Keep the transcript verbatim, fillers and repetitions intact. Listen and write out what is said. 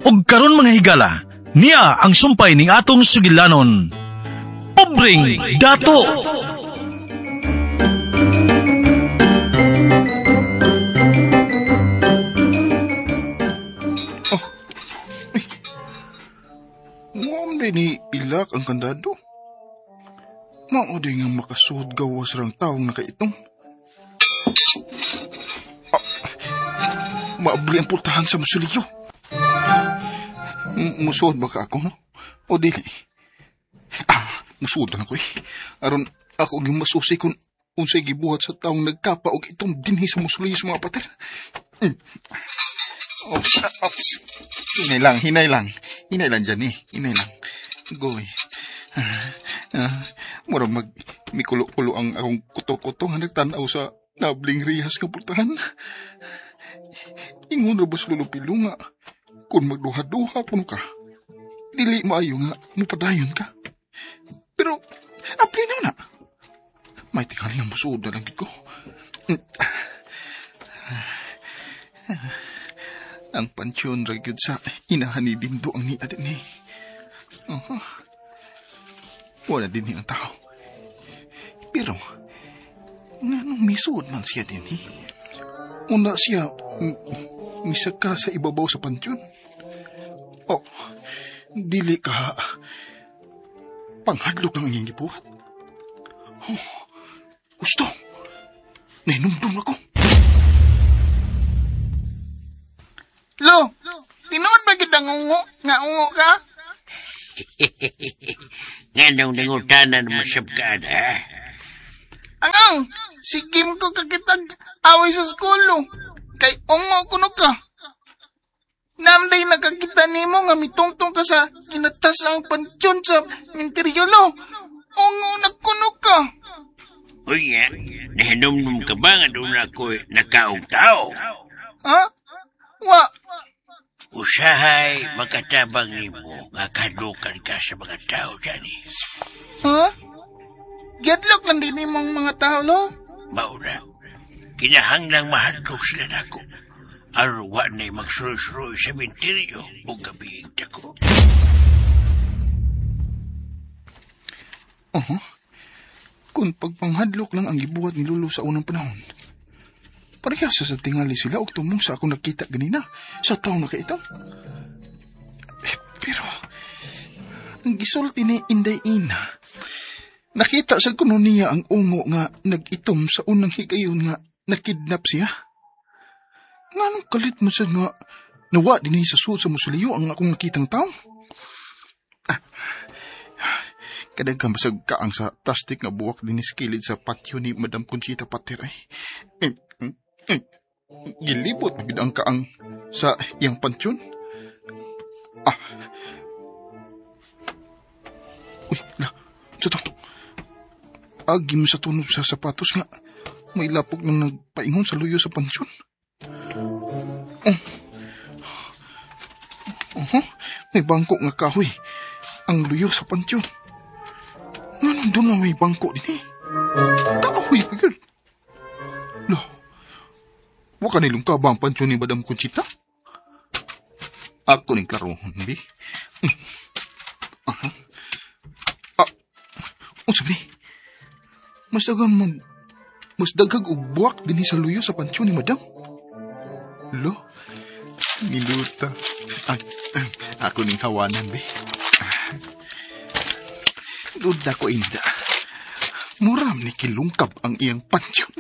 Og karon mga higala, niya ang sumpay ning atong sugilanon. Pobreng Dato! Oh, ay, muam din ni ilak ang kandado. Mao di nga makasuod gawas rang taong nakaitong. Ah, maabli ang pultahan sa musuliyo. Musuod ba ka ako, no? O dili? Ah, musuod na ko eh. Aron ako yung masusi kung unsay gibuhat sa taong nagkapa og itong dinhi sa musuliyo sa mga pater. Mm. Ops, ops. Hinay lang, hinay lang. Hinay lang dyan eh. Hinay lang. Goy. Ah, ah, mura mag mikulo-kulo ang akong kuto-kuto nga nagtan-aw sa nabling rihas nga pultahan. Ingon ra ba sa Lolo Pilo nga kung magduha-duha kuno ka, dili maayo nga mupadayon ka. Pero, apli na na. May tingali nga musuod na lang ko. Ang pansyon ra gyud sa inahan ni Dindo ang niya din eh. Uh-huh. Wala din ang tao. Pero, nganong misuod man siya din eh. Una siya, misaka sa ibabaw sa pansyon. Oh, dili ka panghadlok ng iyong gibuhat. Oh, gusto. Nahinumdum ako. Lo, tinuod ba gid ang ungo? Nga ungo ka? Nganong nangutanan mo sabkaan, ha? Angang, sigim ko kakitag away sa school, kay ungo kuno ka. Namday nakakita nimo nga mitungtong ka sa kinatas ang pansyon sa minteryolo. Ungo na kuno ka. Unya, nahinumdum ka ba nga doon ako'y nakaog tao? Ha? Wa. Usahay makatabang nimo nga kadukan ka sa mga tao, Johnny. Ha? Gedlock lang din nimong mga tao, lo? Mauna, kinahanglang mahadlok sila nako. Aron wa na'y magsuroy-suroy sa minteryo o gabiing dako. Uh-huh. Kung pagpanghadlok lang ang gibuhat ni Lolo sa unang panahon, parehas sa tingali sila og tumong sa akong nakita ganina sa taong nakaitong. Eh, pero, ang gisulti ni Inday Ina, nakita sa kuno niya ang ungo nga nag-itom sa unang higayon nga nakidnap siya. Nganong kalit mo siya nga nawa din sa suot sa musuliyo ang akong nakitang tao? Ah, kadaghan basag kaang sa plastic nga buwak din sa kilid sa patio ni Madam Conchita Pater ay. Eh, eh, gilibot magid ang kaang sa iyang pansyon. Ah. Uy, la, sa to. Agim sa tunog sa sapatos nga may lapok nang nagpaingon sa luyo sa pansyon. Oh. Uh-huh. May bangko nga kahoy ang luyo sa pansyon. Nganong doon na may bangko din eh? Kahoy pa yun. Lo, waka nilong ka ba ang pansyon ni Madam Conchita? Ako ning klarohon, bi. Aha. Ah, unsa ba ni? Mas daghang mag... Mas daghag og buwak dinhi sa luyo sa pansyon ni Madam. Lo, niluta. Ay, ako ning hawanan, bi. Duda ko inda. Muram ni kilungkab ang iyang pansyon.